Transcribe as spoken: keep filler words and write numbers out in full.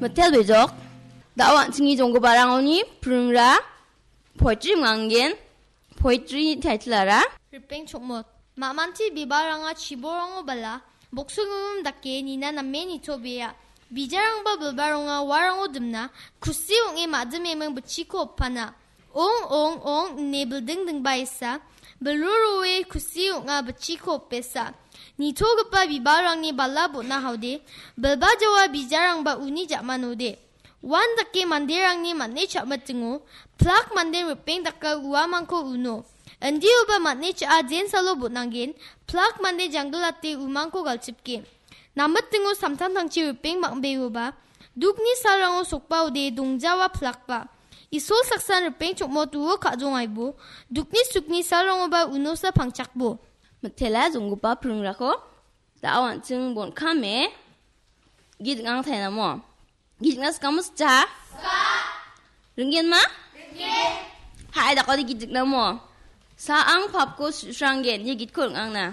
Mitel bejok, da·o an·chingni jonggiparangoni pringra poetry manggen, poetry title-ara. Ripeng chokmot. Mamanti bibalranga chiborango bala, boksogimim dake nina name nitobea. Bijarangba bilbaronga uarango dimna, kusi ong·e madimeming bitchiko opana. Ong, ong, ong, ine bilding dingbaesa, bilro roe kusi ong·a bitchiko opesa. Nitogipa bibalrangni bala bon·a haode, bilba jawa bijarangba uni ja·manode. Uan dake manderangni man·e cha·mitingo, plak mande ripeng daka uamangko uno. Indioba man·e cha·a jensalo bon·angen, plak mande janggilate umangko galchipgen. Namitingo samtangtangchi ripeng bang·beoba, dukni salrango sokbaode dongjawa plakba. Isol saksan ripeng chokmot uo ka·jongaibo, dukni sukni salrangoba unosa pangchakbo. Mitela jonggipa pringrako, da·o an·ching bon·kame, git ing·ang tainamo. Git ing·na sikamo sija? Ringgenma? Ringgen. Hai, dakode git ing·namo. Sa ang papko su-, sranggen, ia gitko ring·angna.